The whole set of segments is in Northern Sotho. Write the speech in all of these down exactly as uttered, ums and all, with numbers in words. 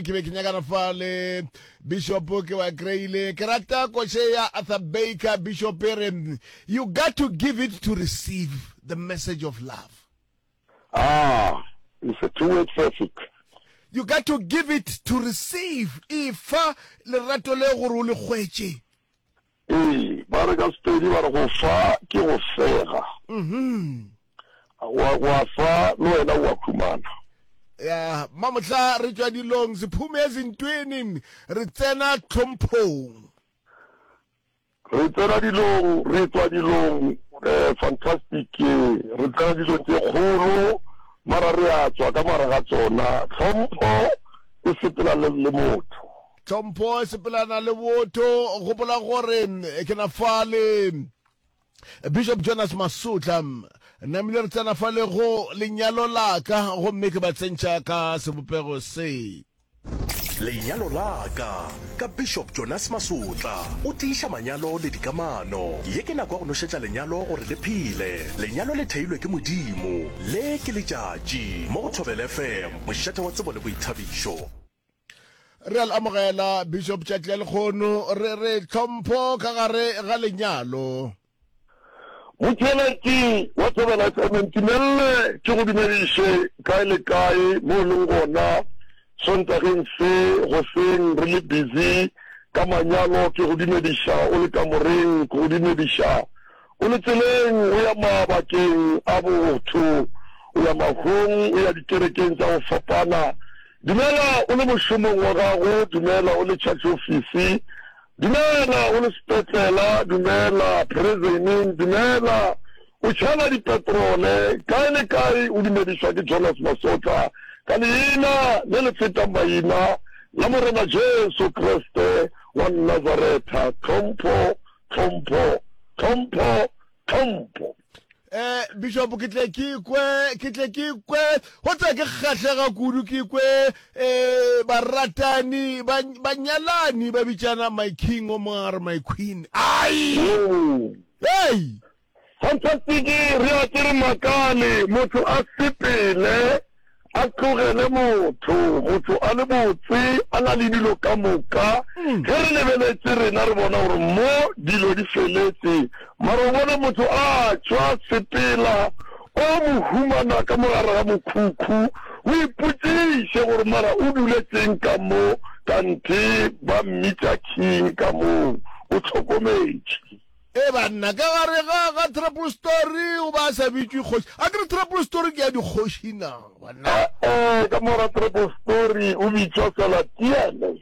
Ke be ke nyakana fa le Bishop, ke ba kry-ile. Ke rata koše ya Arthur Baker. Bishop e re, you got to give it to receive the message of love. Ah, it's a two-word traffic. You got to give it to receive. Efa lerato le gore o le hwetše. Ee, ba re ka Sepedi ba re go fa ke go fega. Mhm. Wa, wa fa le wena wa humana. Ya, mamohla re tšwa dilong, sephume ezintweni, re tsena tlhomphong. Re tsena dilong, re tswa dilong, eh, fantastic, re tsena dilong tše kgolo, mara re a tswa ka mara ga tsona. Tlhompho e sepela le, le motho. Tlhompho e sepelana le botho. Gopola gore ke na fa le Bishop Jonas Masotla. Namile re tsena fa le go lenyalo la ka, gomme ke ba tsentšha ka sebopego se. Lenyalo la ka, ka Bishop Jonas Masotla, o tiiša manyalo le dikamano. Ye ke nako ya go nošetša lenyalo gore le phele. Lenyalo le theilwe ke Modimo. Le ke letšatši, mo go Thobela F M, mošate wa tsebo le boithabišo. Re a le amogela Bishop tšatši la lekgono, re re tlhompho ka gare ga lenyalo. Motheeletši wa Thobela F M, ntumelele ke go dumediše kae le kae mo o leng gona Sontageng se goseng re le busy ka manyalo. Ke go dumediša o le kamoreng, ke go dumediša o le tseleng o ya mabakeng a botho, o ya mahong, o ya dikerekeng tša go fapana. Dumela o le mošomong wa gago, dumela o le church office, dumela o le sepetlela, dumela prisoneng, dumela o tšhela dipetrole, kae le kae o dumedišwa ke Jonas Masotla ka leina le le fetang maina la Morena Jesu Kriste wa Nazaretha. Tlhompho, tlhompho, tlhompho, tlhompho. Eh, Bishop, ke tle ke kwe, ke tle ke kwe, go tla ke kgahlega kudu ke kwe, eh, baratani, ba, banyalani ba bitšana my king, o mongwe a re my queen. Ai! Oh. Hey! Fantastic, re a ke re makale, motho a sepele, a tlogele motho, motho a le botse, a na le dilo ka moka. Ge re lebeletše rena re bona gore mo dilo di feletše, mara o bone motho a tšwa sepela, o mo humana ka mo gare ga mokhukhu, o ipotšiše gore mara o duletšeng ka mo, kanthe ba mmitša king ka moo, o hlokometše. E banna, ka gare ga, ga triple story o ba a sa bitšwe kgoši. A ke re triple story ke ya dikgoši na, banna? Eh, ka mora triple story o bitšwa Salatiele.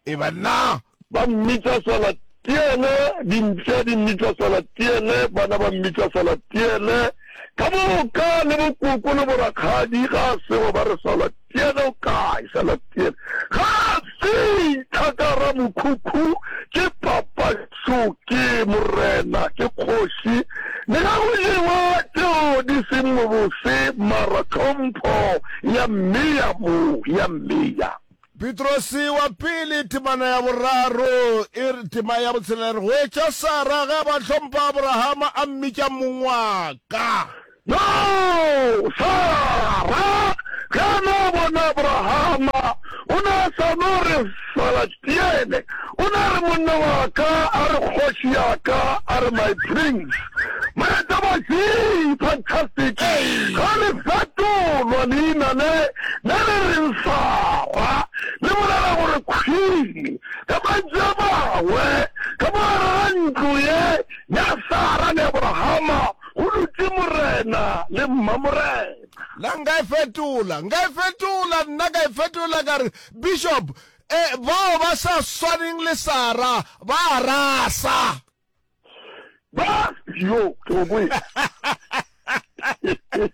E banna. Ba mmitša Salatiele, dimpša di mmitša Salatiele, bana ba mmitša Salatiele. Ka moka le bokoko le borakgadi ga a sego ba re Salatiele o kae, Salatiele. Ga a fihla ka ra mokhukhu ke papa šo, ke morena, ke kgoši. Le ga go jewa tšeo di seng mobose, mara tlhompho ya mmeya mo, ya mmeya. Petrose wa pele temana ya boraro e re, tema ya botshelela e re, go etša Sara ge a ba hlompha Aborahama a mmitša mong wa ka. No, Sara ge a no bona Aborahama, o ne a sa no re Salatiele, o ne a re monna wa ka, a re kgoši ya ka, a re my prince. Moetabatši, fantastic, ga le fetolwa leina le, le le reng Sara, le bolela gore queen. Ka mantšu a mangwe, ka mo gare ga ntlo ye ya Sara le Aborahama go dutše morena le mmamorena. Na nka e fetola? Nka e fetola, nna ka e fetola ka re, Bishop, eh, bao ba sa swaneng le Sara ba a rasa. Ba, yo, ke go kwele. Ke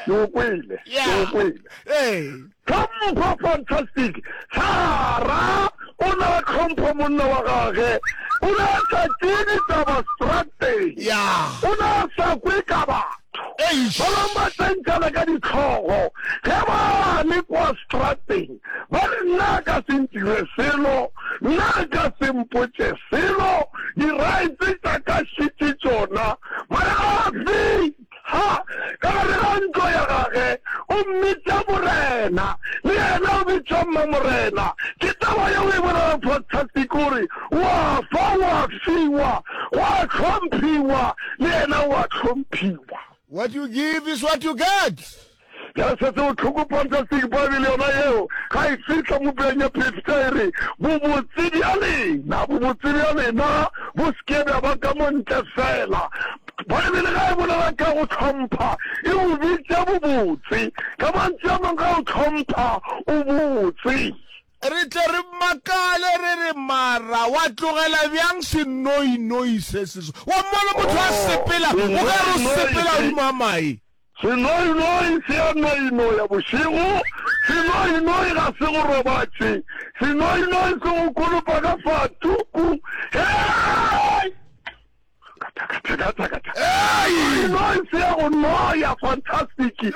go kwele, ke go kwele. Ee. Tlhompho, fantastic. Sara o na tlhompho monna wa gage. O ne a sa tšee ditaba strateng. Yeah. O ne a sa kwe ka batho. Eish. Ba bangwe ba tsentšana ka ditlhogo ge ba le kwa strateng, ba re nna a ka se ntire selo, nna a ka se mpotše selo, di-rights tša ka šetše tšona. Mara a fihla ka gare ga ntlo ya gage, o mmitša morena, le yena o bitšwa Mmamorena. Ke taba yeo e bolelang fantastic gore wa fa wa fiwa, wa hlomphiwa, le yena wa hlomphiwa. What you give is what you get. Bjale se se bohloko fantastic Bible yona yeo ga e fihla mo puleng ya phefta e re, Bobotse bja lena, bobotse bja lena bo se ke bja ba ka mo ntle feela. Bible ga e bolela ka go hlompha e bo bitša bobotse. Ka mantšu a mangwe ga o hlompha o botse. Re tle re makale re re, Mara wa tlogela bjang senoinoi se se so? Wa mmona motho a sepela, o ka re o sepela godimo ga mae. Senoinoi se a noinoya bošego, senoinoi ga se go robatše, senoinoi se go kolopa ka fatuku. Hei! Senoinoi se ya go noya, fantastic. Ke a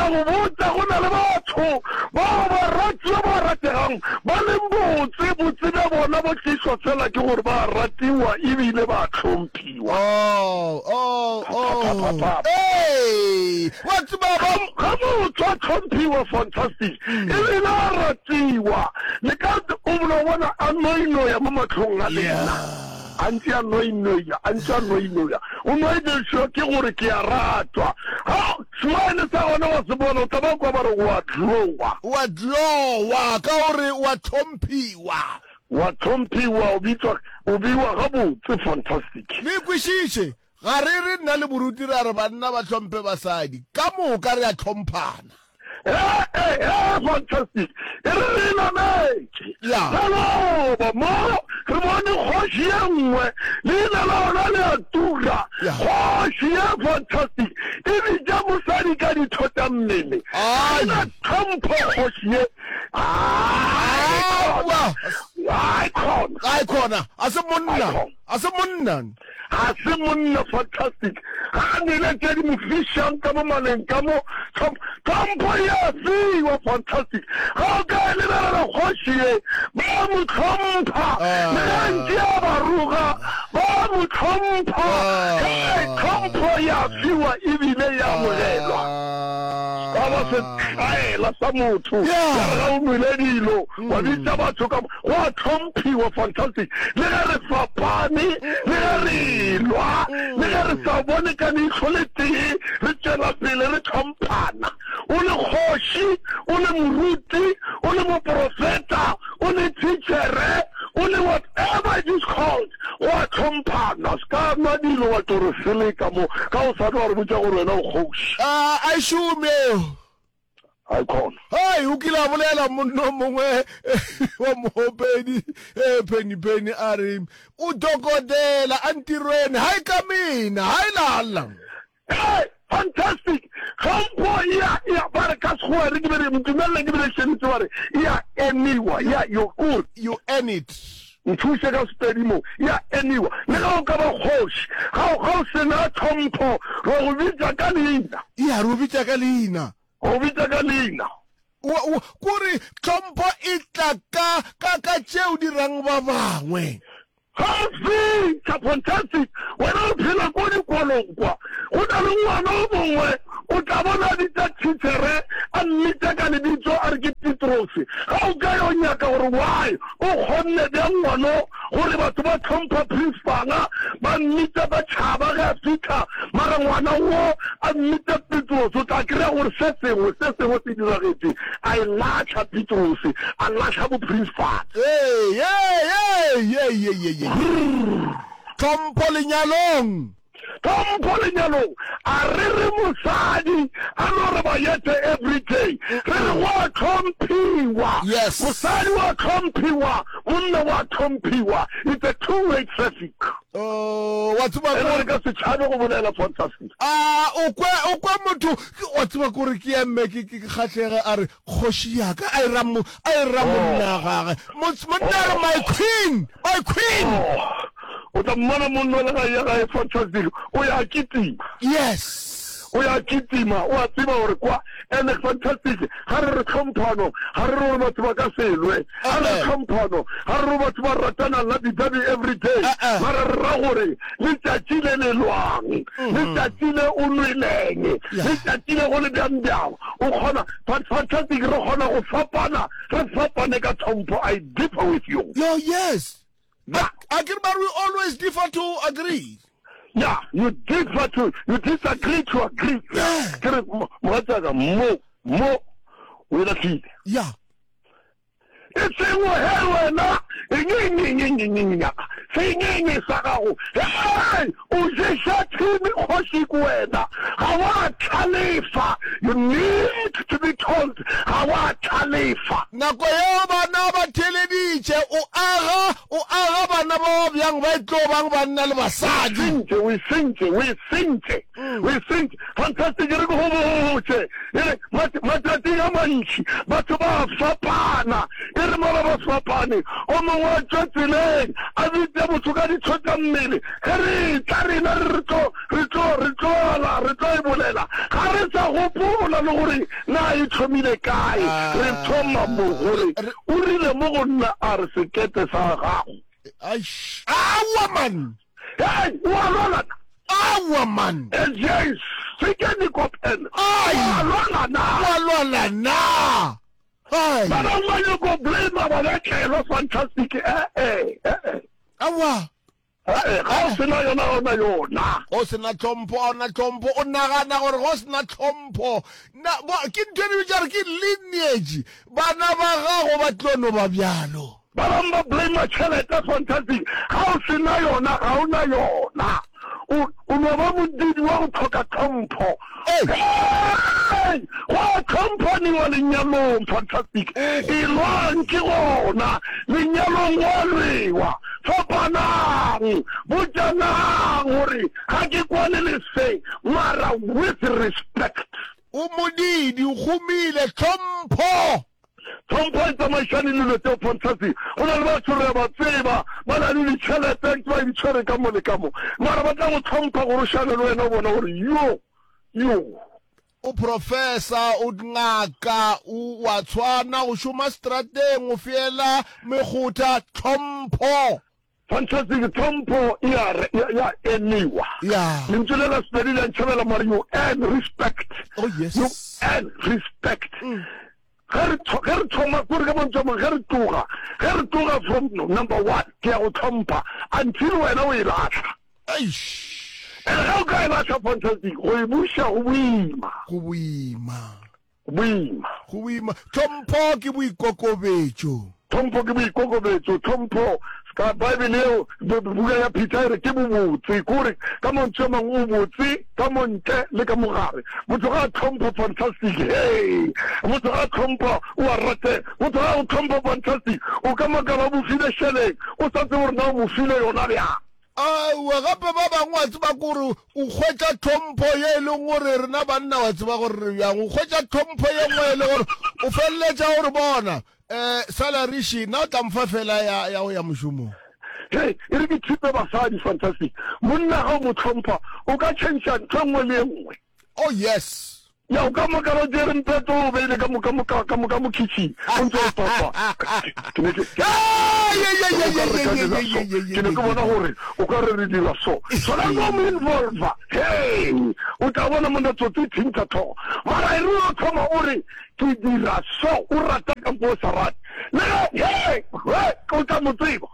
go botša, go na le batho bao baratiwa ba rategang ba leng botse, botse bja bona bo tlišwa fela ke gore ba ratiwa ebile ba hlomphiwa. Oh, oh, oh. Hey! Wa tseba ba Ga motho a tlhomphiwa fantastic ebile a ratiwa le ka o no bona a noinoya mo mahlong a lena a ntse a noinoya a ntse a noinoya o noinešwa ke gore ke a ratwa ga smile sa gona wa se bona o tla ba kwa ba re wa glowa wa glowa ka gore wa tlhomphiwa Wa tlhomphiwa, o bitswa, o beiwa gabotse. Fantastic. Le kwešiše, ga re re nna le moruti ra re banna ba hlomphe basadi. Ka moka re a hlomphana. He, he, he, fantastic. E re re nametše. Ya. Maloba mo re bone kgoši ye nngwe, leina la yona le a tura. Ya. Kgoši ye fantastic e bitša mosadi ka ditho tša mmele. Ga e na tlhompho kgoši ye. Aowa. Ai khona. Ai khona. A se monna. A se monna. Ga se monna fantastic. Ga a nwele tše di mo fišang ka mo maleng ka mo. Tlhompho e a fiwa fantastic. Ga o ka e lebelela kgoši ye, ba mo hlompha. Le ge ntše a ba roga, ba mo hlompha. Hei, tlhompho e a fiwa ebile e amogelwa. Ka ba setlaela sa motho ya re ga o nwele dilo wa bitša batho ka go a hlomphiwa fantastic le ge re fapane le ge re elwa le ge re sa bone ka leihlo le tee re tšwela pele re hlomphana o le kgoši o le moruti o le moprofeta o le thitšhere o le whatever it is called go a hlomphana se ka nwa dilo wa tlo re seleka mo ka o sa tlo wa re botša gore wena o kgoši. A a e šome eo. Hai khona. Hai, o kile a bolela monna o mongwe wa moopedi eh, Penny Penny a re o dokodela a ntirweni hai ka mina hai lala. Hey, fantastic! Tlhompho e a, e a, ba re ka Sekgowa re ke be re, ntumelele ke be re šenitse ba re, e a eniwa, e a, yo, kore. You earn it. Nthuše ka Sepedi mo, e a eniwa. Le ge o ka ba kgoši, ga o, ga o se na tlhompho, ro go bitša ka leina. Ya, re go bitša ka leina. Go bitša ka leina. Wa, wa, kore tlhompho e tla ka, ka, ka tše o dirang ba bangwe. Ga fihla Fantastic, wena o phela ko dikolong kwa. Go na le ngwana o mongwe o tla bona a bitša thitšhere a mmitša ka lebitso a re ke Petrose. Ga o ka yo nyaka gore why o kgonne bjang ngwano gore batho ba hlompha principala ba mmitša ba tšhaba ge a fihla mara ngwana wo a mmitša Petrose o tla kry-a gore se sengwe se sengwe se diragetše a e lahla Petrose a lahla bo principal. Hey, hey, hey, hey, hey, hey, hey. Tlhompho lenyalong. Tlhompho lenyalong. A re re mosadi a no re bayete everyday. Re re wa hlomphiwa. Yes. Mosadi wa hlomphiwa, monna wa hlomphiwa. It's a two way traffic. Oh, wa tseba Ene re ka se tšhabe go bolela fantastic. A o kwe o kwe motho wa tseba kore ke emme ke ke kgahlege a re kgoši ya ka a e ra mo a e ra monna gage monna a re my queen my queen o tla mmona monna le ga ya gae fantastic o ya kitima yes O ya kitima, o a tseba gore kwa. And fantastic, ga re re tlhomphano, ga re re gore batho ba ka se lwe. Ga re re tlhomphano, ga re re batho ba ratana lovey-dovey every day. Mara re ra gore letšatši le le lwang, letšatši le o nweleng, letšatši le go le bjang bjang, o kgona, but fantastic, re kgona go fapana, re fapane ka tlhompho. I differ with you. Yo, yes. Yeah. A ke re ba re we always differ to agree. Yeah, you differ to, you disagree to agree. Yeah. Ke re, mogatšaka, mo, mo, o e lahlile. Yeah. E seng he wena, eng, eng, eng, eng, eng, eng, ya, sengenge sa gago. Hei, o ješa thimi kgoši ke wena. Ga wa tlhalefa. You need to be told, ga wa tlhalefa. Nako yeo bana ba theeleditše, o aga, o aga bana ba ba bjang ba e tlo bang banna le basadi. Sentše, o e sentše, o e sentše, o e sentše. Fantastic, re ke go botše. E re, mat-, matšatšing a mantši, batho ba a fapana. E re mola ba fapane, o mongwe a tšwe tseleng, a bitše motho ka ditho tša mmele. Ge re etla rena re re tlo, re tlo, re tlo ala, re tlo e bolela, ga re sa gopola le gore na e thomile kae. Re thoma mo gore o rile mo go nna a re sekete sa gago. Aish, aowa man! Hei, o a lwala na? Aowa man! L J, se ke nikopel, o Ai! a lwala na? O a lwala na? Ai! Ba bangwe ba nyako blame ba betlelwa fantastic, eh eh, eh eh. Aowa. Eh, ga o sena yona, ga o na yona. Go sena tlhompho, ga o na tlhompho. O nagana gore go sena tlhompho na bo ke ntho e bitša gore ke lineage, bana ba gago ba tlo no ba bjalo. Ba bangwe ba blame tšhelete fantastic, ga o sena yona, ga o na yona. O, o no ba modidi wa go tlhoka tlhompho. Ei! Hey! Go a tlhomphaniwa lenyalong, fantastic. E lwang ke gona, lenyalong go a lwewa. Fapanang, botšanang gore ga ke kwane le se, mara with respect. O modidi, o gomile, tlhompho. Tlhompho e tsamaišane le dilo tseo, fantastic. Go na le batho re a ba tseba, ba na le ditšhelete, ba di tshwere ka mo le ka mo, mara ba tla go tlhompha gore o šale le wena o bona gore yo, yo. O professor, o ngaka, o wa tshwana, o šoma strateng, o fiela mekgotha, tlhompho. Fantastic, tlhompho e a re, ya, ya eniwa. Ya. Lentšu le la Sepedi le a ntšhabela mare you earn respect. Oh yes. You earn respect. Ge re tho-, ge re thoma, kore ka mantšu a mangwe, ge re tloga, ge re tloga from number one, ke ya go tlhompha until wena o e lahla. Eish. And ge o ka e lahla, fantastic, go e buša go boima. Go boima. Go boima. Go boima. Tlhompho ke boikokobetšo. Tlhompho ke boikokobetšo. Tlhompho, ka Bible eo, buka ya Peter e re ke bobotse. Kore ka mantšu a mangwe o botse ka mo ntle le ka mogare. Motho ga a tlhompha, fantastic, hey! Motho ga a tlhompha, o a ratega. Motho ga a go tlhompha, fantastic, o ka makala o mo file šeleng, o sa tsebe gore na o mo file yona bjang. Aowa, gape ba bangwe wa tseba kore o hwetša tlhompho ye e leng gore rena banna wa tseba gore re bjang. O hwetša tlhompho ye nngwe e le gore o feleletša gore bona um salary she nna o tla mfa fela ya ya go ya mošomong. Hei, e re ke thipe basadi, fantastic. Monna ga o mo tlhompha, o ka change ntho e nngwe le e nngwe. Oh yes. Ya, o ka makala o tšere mpeto o beile ka mo, ka mo, ka, ka mo, ka mo kitchen, o ntse o papa. Ke ne ke, ke ke ne ke bona gore o ka re re dira so. Sona no mo involve. Hey, o tla bona monna tsotsi e thintha tlhogo. Mara e re o thoma o re ke dira so, o rata kampo o sa rate. Le ge, hey, hey, o tla mo tseba.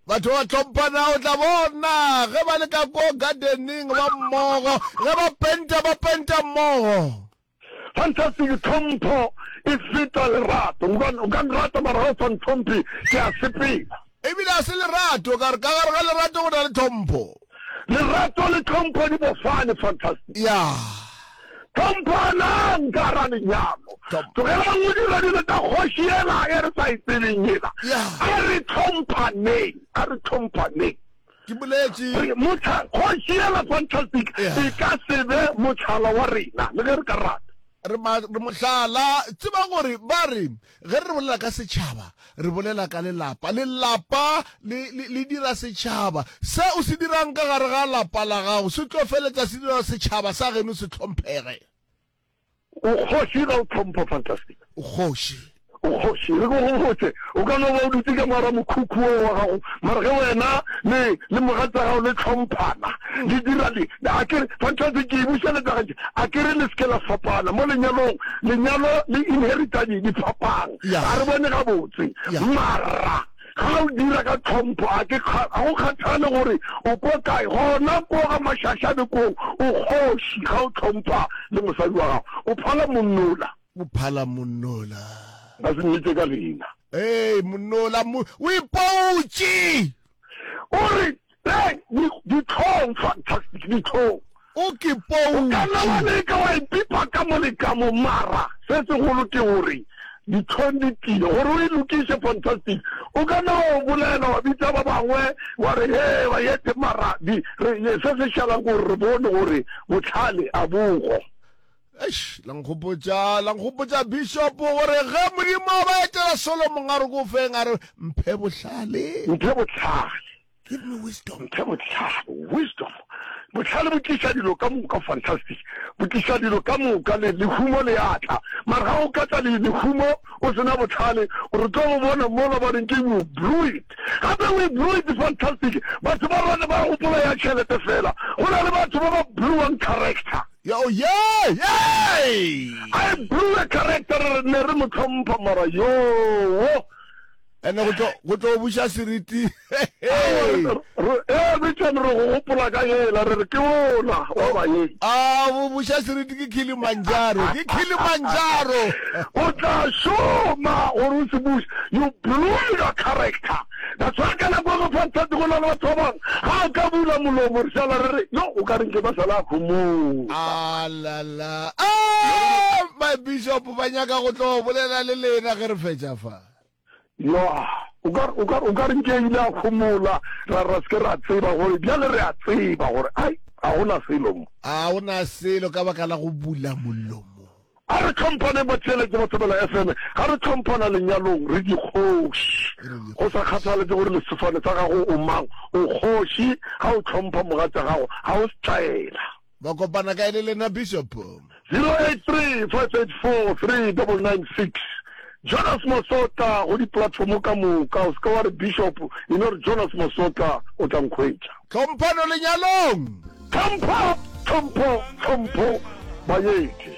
Batho ba tlhomphana, o tla bona ge ba le ka ko gardening ba mmogo, ge ba penta ba penta mmogo. Fantastic, tlhompho e feta lerato. O ka, o ka nrata mara ga o sa ntlhomphe, ke a sepela. Ebile a se lerato, ka re ka gare ga lerato go na le tlhompho. Lerato le tlhompho di bofane, fantastic. Ya. Tlhomphanang ka ra lenyalo. Tlogelang go dira dilo tša kgoši yela e re sa e tsebeng yela. Ya. A re tlhomphaneng, a re tlhomphaneng. Ke boletše. Re motha kgoši yela, fantastic, Ya. e ka se be motlhala wa rena le ge re ka rata. Re ma, re mohlala, tseba gore ba re ge re bolela ka setšhaba, re bolela ka lelapa. Lelapa le, le, le dira setšhaba. Se o se dirang ka gare ga lapa la gago se tlo feletša se dira setšhaba sa geno se hlomphege. O kgoši ga o tlhompha, Fantastic. O kgoši. O kgoši, re ko go botše, o ka no ba o dutše ka moara mokhukhu wo wa gago, mara ge wena le, le mogatša gago le hlomphana, le dira le, a ke re, fantastic, ke e bušeletša gantši, a ke re le se ke la fapana mo lenyalong, lenyalo le inherita di, diphapang, Ya. ga re bone gabotse, Ya. mara ga o dira ka tlhompho, a ke, ga go kgathale gore o ko kae, gona ko ga mašašane koo, o kgoši ga o hlompha le mosadi wa gago, o phala monnola. O phala monnola. Nka se mmitše ka leina. Ee, monnola, mo, o ipoutše. O re, Hey, di, dihlong, fantastic, dihlong. O ke O ka nna wa poutše. leka wa ipipa ka mo le ka mo, mara se segolo ke gore dihlong di tlile. Gore o e lokiše, fantastic, o ka nna wa o bolela, wa bitša ba bangwe, wa re, Hee, bayete, mara di, re, se se šalang ke gore re bone gore bohlale a bo go. Eish, la nkgopotša, la nkgopotša Bishop gore ge Modimo a ba etela Solomon a re ko feng a re mphe bohlale. Mphe bohlale. Give me wisdom. Mphe bohlale, wisdom. Bohlale bo tliša dilo ka moka, fantastic. Bo tliša dilo ka moka, le lehumo le a tla. Mara ga o ka tla le lehumo o se na bohlale, re tlo go bona mola ba reng ke you blew it. Gape we blew it, fantastic. Batho ba rona ba gopola ya tšhelete fela. Go na le batho ba ba blewang character. Yo, yey, yey! I blew a character, re ne re mo hlompha mara yoo. Ene go tlo go tlo buša seriti. Ee, bitšane re go gopola ka yela, re re ke ola wa baeng. A bo buša seriti ke Kilimanjaro, ke Kilimanjaro. O tla šoma gore o se buše. You blew your character. That's why ka nako e nngwe Fantastic go na le batho ba bangwe ga a ka bula molomo re šala re re yo o ka reng ke ba sala a homola. Alala. Ah, my bishop ba nyaka go tlo bolela le lena ge re fetša fa. Yo, o ka o ka o ka reng ke ile a homola ra ra se ke ra tseba gore bjale re a tseba gore ai ga gona selo mo. A gona selo ka baka la go bula molomo. A re hlomphane batheeletši ba Thobela F M, ga re hlomphana lenyalong re dikgoši. Go sa kgathaletse gore lesofane sa gago o mang, o kgoši ga o hlompha mogatša gago, ga o setlaela. Ba kopana kae le lena Bishop? Zero eight three five eight four three double nine six Jonas Masotla go di-platform ka moka, o se ke wa re Bishop, e no re Jonas Masotla o tla nkhwetša. Tlhomphano lenyalong. Tlhompho, tlhompho, tlhompho, baeti.